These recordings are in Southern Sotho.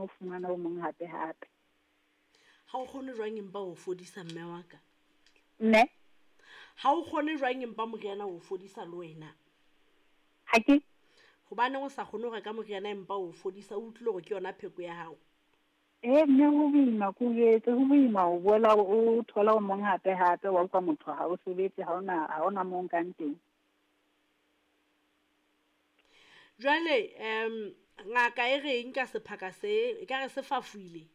ho fumana o mong hape hape. Ha o kgone jwang empa o fodisa mme wa ka? Mme? Ha o kgone jwang empa moriana o fodisa le wena? Ha ke. Hobaneng o sa kgone ho reka moriana empa o fodisa, o utlwile hore ke yona pheko ya hao? Ee mme ho boima ke o jwetse, ho boima ho boela o thola o mong hape hape wa utlwa motho ha o sebetse ha ona ha ona mo nkang teng. Jwale ngaka e reng ka sephaka se, e ka re se fafoile?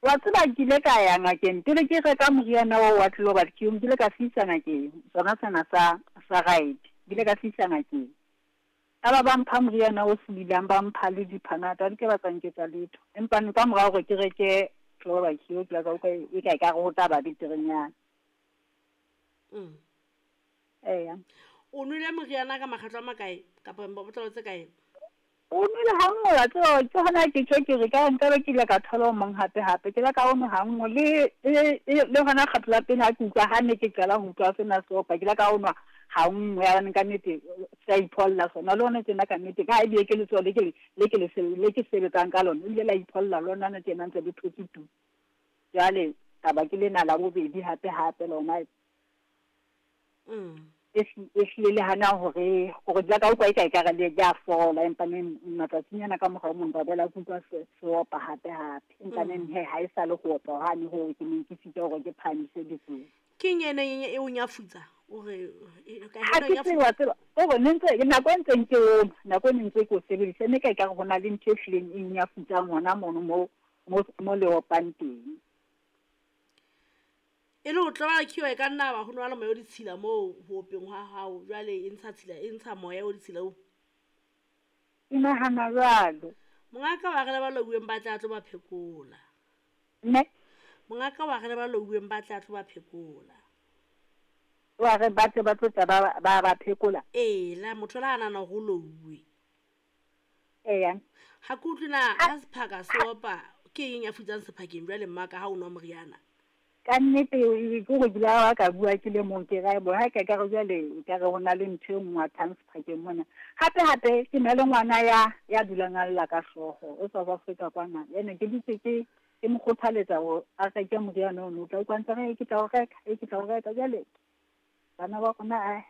Wa tseba ke ile ka ya ngakeng pele ke reka moriana oo wa Global Cure, nkile ka se isa ngakeng sona sena sa sa right, nkile ka se isa ngakeng. Ya ba ba mpha moriana o sebilang, ba mpha le diphanata, ha di ke ba tsa nketsa letho. Empa ka mora hore ke reke Global Cure, ke ile ka utlwa e ka ekare ho tla ba beterenyana. Eya. O nwele moriana ka makgetlo a makae kapa botlolo tse kae? O nwele ha nngwe wa tseba ke hona ke tjho ke re ka nkabe ke ile ka thola o mong hape hape. Ke la ka o nwa ha nngwe le le hona kgetlo la pele ha ke utlwa ha ne ke qala ho utlwa sena se opa ke la ka o nwa ha nngwe ya ka nnete se a ipholla sona le hona tjena ka nnete ka ha ebile ke letsoho le ke le ke le ke sebetsang ka lona ebile la ipholla lona na tjena ntse le thotse tu. Jwale taba ke lena la bobedi hape hape lona. E hlile le hana hore hore ke ka utlwa eka ekare le a fola, empa neng matsatsinyana ka morao mong ka boela ke utlwa se se opa hape hape. Empa neng he ha e sa le ho opa hwane hoo ke neng ke sitwa hore ke phahamise letsoho. Ke eng e neng e o nyafutsa? O re Ha ke tsebe wa tseba, hore ne ntse nako e ntseng ke o nwa, nako e ne ntse ke o sebedisa, e ne ka ekare ho na le ntho e hlileng e nyafutsang hona mono mo mo mo le opang teng. E le ho tloba khiwa e ka nna ba ho nwa le moya o ditshila moo ho openg hwa hao, jwale e ntsha tshila, e ntsha moya o ditshila o. Ke nahana jwalo. Mongaka wa re le ba louweng ba tla tlo ba phekola. Mme? Mongaka wa re le ba louweng ba tla tlo ba phekola. Wa re ba tle ba tlo tla ba ba ba phekola? Ee, la motho la nahana hore o louwe. Eya. Ha ke utlwe na ha sephaka se opa, ke eng ya futsang sephakeng jwale mmaka ha o nwa moriana? Ka nnete ke gore ke la ka bua ke le mong ke ra bo ha ka ka re jwale ka re ho na le ntho e ngwathang sephakeng mona. Hape hape ke na le ngwana ya ya dulang a lla ka hlooho o South Africa kwana. Ene ke dutse ke ke mo kgothaletsa hore a reke moriana ono, o tla utlwa ntse re ke tla o reka, e ke tla o reka jwale bana ba rona a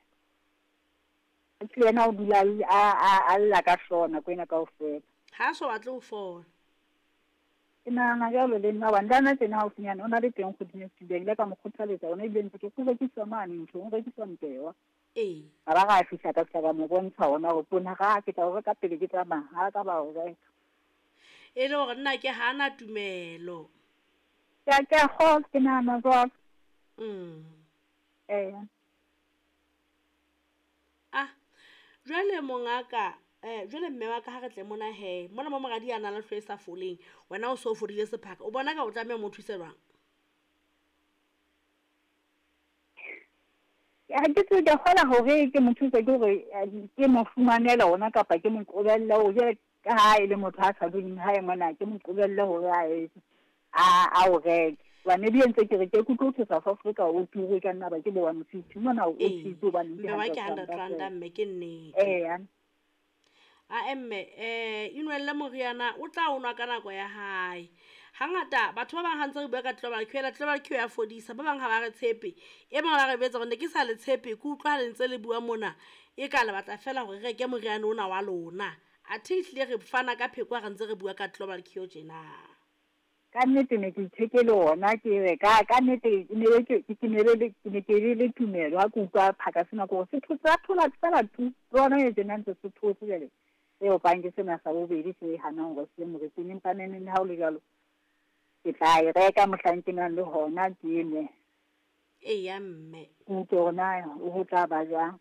le yena o dula a lla ka hlooho nako ena kaofela. Ha so batle ho fola. Ke nahana jwalo le nna hobane le hana tjena haufinyane o na le teng kgweding e fetileng. Ile ka mo kgothaletsa hona ebile ntse ke ho rekiswa mane nthong, ho rekiswa mpewa. Ee. Ka ba ra fihla ka fihla ka mo bontsha hona hore poone ga ke tla o reka pele ke tsamaya, ha ka ba o reka. E le hore nna ke ha na tumelo. Ke a kgolwa, ke nahana jwalo. Ee. Ah, jwale mongaka, jwale mme wa ka ha re tle mona he, mona mo moradi a nang le hlooho e sa foleng, wena o so fodile sephaka, o bona ka o tlameha mo thuse jwang? Ha ke tsebe, ke kgola hore ke mo thuse ke hore ke mo fumanele ona kapa ke mo qobelle hore jwale ka ha e le motho a sa duleng hae mona, ke mo qobelle hore a etse a o reke. Hobane ebile ntse ke re ke utlwe ho South Africa o turu e ka nna ba ke bo 150 mona o cheap hobane ke mme wa ke 100 rand mme ke nnete. Eya. A mme inwelle moriana o tla o nwa ka nako ya hae. Hangata batho ba bang ha ntse re bua ka Global Cure, Global Cure ya fodisa, ba bang ha ba re tshepe. E bang ba re betsa hore ne ke sa le tshepe, ke utlwa ha le ntse le bua mona e ka le batla fela hore re reke moriana ona wa lona. Athe ehlile re fana ka pheko ha re ntse re bua ka Global Cure tjena. Ka nnete ne ke ithekele ona ke re ka ka nnete ne ke ke ne le ke ne ke le tumelo ha ke utlwa phaka sena ke hore se thotse a thola fela tu le hona e tjena ntse se thotse jwale se opang ke sena sa bobedi se hanang hore se moriting, empa neneng le ha o le jwalo ke tla e reka mohlang ke nang le hona ke nwe. Eya mme. Ke utlwe hore na ho tla ba jwang.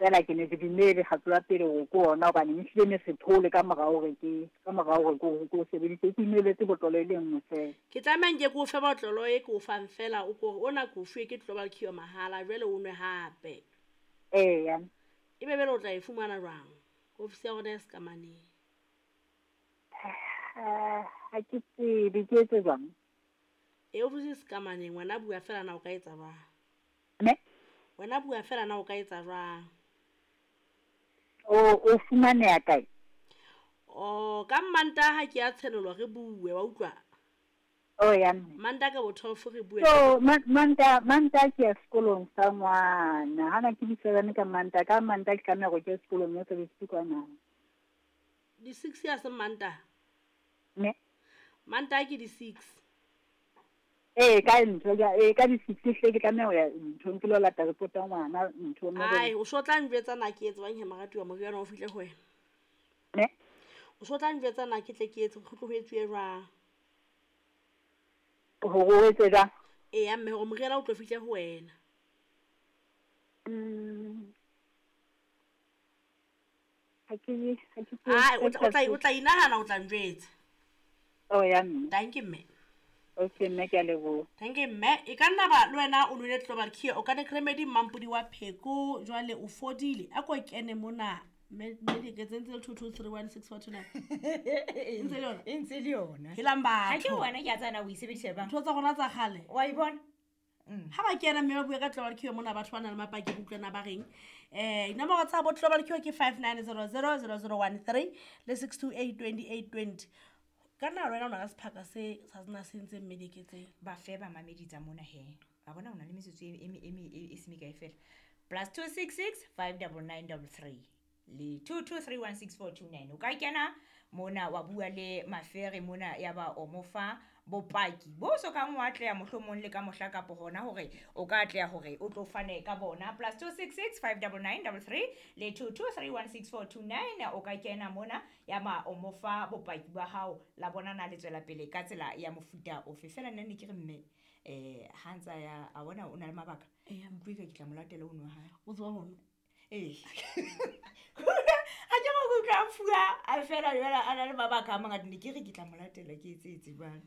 Fela ke ne ke dumele kgetlo la pele hore ke ona hobane ehlile ne se thole ka mora hore ke ka mora hore ke o sebedise, ke inweletse botlolo e le nngwe fela. Ke tlameha nke ke o fe botlolo e ke o fang fela o kore ona ke o fuwe ke Global Cure mahala jwale o nwe hape. Eya. Ebe bele o tla e fumana jwang? Ofisi ya rona e Sekamaneng. Ha ke tsebe ke etse jwang? E ofisi e Sekamaneng, wena bua fela na o ka etsa jwang? Ne? Wena bua fela na o ka etsa jwang? O fumaneha kae? O ka Mantaha ke ya tshenolo re bue wa utlwa. Oh ya mme. Mantaha ka bo 12 re bue. So Mantaha ke ya sekolong sa ngwana. Hana ke di-7 ka Mantaha. Ka Mantaha ke tlameha hore ke ye sekolong ya sebedise kwana. Di 6 ya se Mantaha. Ne. Mantaha ke di 6. Ee ka ntho ya ka di 6 hle ke tlameha ho ya nthong ke lo lata report ya ngwana nthong. Ai o so tla njwetsa na ke etse bang he moratuwa moriana o fihle ho wena. Ne. O so tla njwetsa na ke tle ke etse go tlo ho etsuwe jwang. Hore o etse jwang? Eya mme hore moriana o tlo fihle ho wena. Ha ke o tla inahana o tla njwetsa. Oh ya mme. Thank you mme. Okay mme ke a leboha. Thank you mme. E ka nna ba le wena o nwele Global Cure Organic Remedy Mampodi wa pheko jwale o fodile. A ko kene mona mme di ke tsentse 22316429. Ntse le yona. E ntse le yona. Helang batho. Ha ke wena ke a tsana o e sebedisa bang. Ntho tsa rona tsa kgale. Wa e bona? Ha ba kena mme ba bua ka Global Cure mona batho ba nang le mapaki ba utlwana ba reng. Dinomoro tsa bo Global Cure ke 59000013 le 6282820. Ka nna wena o na le sephaka se sa sena se ntse mme diketseng. Ba fe ba mamedi tsa mona he. A bona o na le metsotso e se mekae fela. +266 59933 le 22316429. O ka kena mona wa bua le Mafere mona ya ba o mo fa bopaki bo so kang wa atleha mohlomong le ka mohla kapo hona hore o ka atleha hore o tlo fane ka bona. +266 59933 le 22316429. O ka kena mona ya ba o mo fa bopaki ba hao la bona na le tswela pele ka tsela ya mofuta ofe. Fela nna ne ke re mme ha ntsa ya a bona o na le mabaka. Utlwe ka ke tla mo latela o nwa hae. O tswa hona. Eh. Ha ke mo utlwa fuwa a fela jwale a na le mabaka a mangata ne ke re ke tla mo latela ke etse jwang.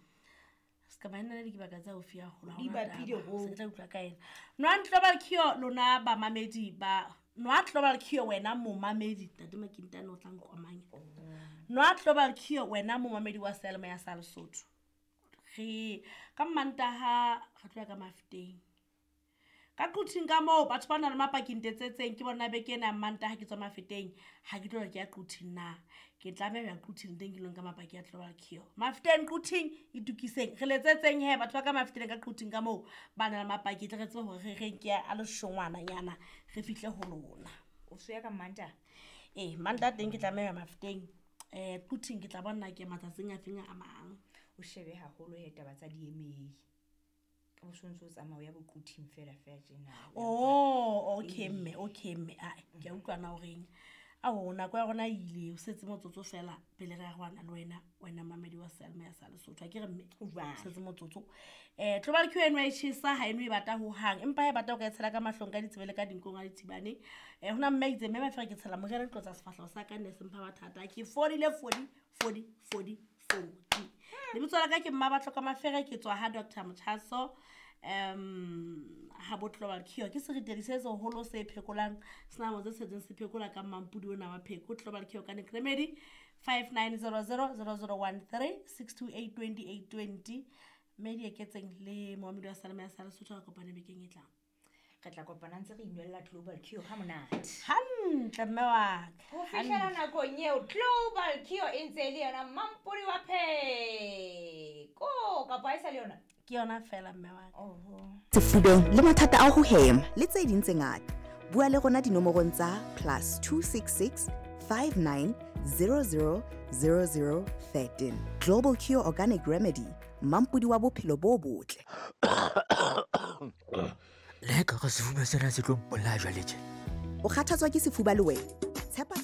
Ska ba nna le dibaka tsa haufi haholo ha Di hona bapile taba. ho. Se ke tla utlwa ka ena. Nwa Global Cure lona bamamedi ba nwa Global Cure wena momamedi Ntate Makintane o tla nkomanya. Nwa Global Cure wena momamedi wa Selma ya sa Lesotho. Re ka Mantaha re tloya ka Mafeteng. Ka Quthing ka moo batho ba nang le mapaki ntetsetseng ke bona beke ena ya Mantaha ke tswa Mafeteng ha ke tlo re ke ya Quthing na. Ke tlameha ho ya Quthing teng ke lo nka mapaki a Global Cure. Mafeteng Quthing itukiseng. Re letsetseng he batho ba ka Mafeteng ka Quthing ka moo ba nang le mapaki tle re tsebe hore re reng ke a leshongwananyana re fihle ho lona. O so ya ka Mantaha? Ee, Mantaha teng ke tlameha ho ya Mafeteng. Quthing ke tla bona ke matsatsing a feng a mang. O shebe haholo he taba tsa di-email. O sontso tsamao ya boquthing fela fela tjena. Oh, okay mme, okay mme. Ai, ke a utlwa na horeng. Ao nako ya rona e ile, o setse motsotso fela pele re arohana le wena, wena mamedi wa Selma ya sa Lesotho. Ha ke re mme, Jwale. setse motsotso. Global Cure eno e tjhesa ha eno e bata hohang, empa ha e bata o ka e tshela ka mahlong ka ditsebe le ka dinkong ha di thibane. Hona mme a itse mme Mafere ke tshela moriana ke tlotsa sefahleho sa ka nne se mpha mathata. Ke fodile fodi fodi fodi fodi. Lebitso la ka ke Mmabatho ka Mafere ke tswa ha Dr. Mothaso. Ha bo Global Cure ke seritedi se seholo se phekolang senamo tse setseng se phekola ka mampudi ona wa pheko. Global Cure Organic Remedy 59000013 6282820. Mme di eketseng le moamedi wa Salama ya sa Lesotho re kopane bekeng e tlang. Re tla kopana ntse re inwella Global Cure ha monate. Hantle mme wa ka. Ho fihlela nakong eo Global Cure e ntse e le yona mampodi wa pheko kapa ha e sa le yona? Ke yona fela mme wa ka. Oho. Sefubeng le mathata a ho hema le tse ding tse ngata. Bua le rona dinomorong tsa +266 59 00 00 13. Global Cure Organic Remedy, mampodi wa bophelo bo botle. Le ka re sefuba sena se tlo mpolaya jwale tje. O kgathatswa ke sefuba le wena? Tshepa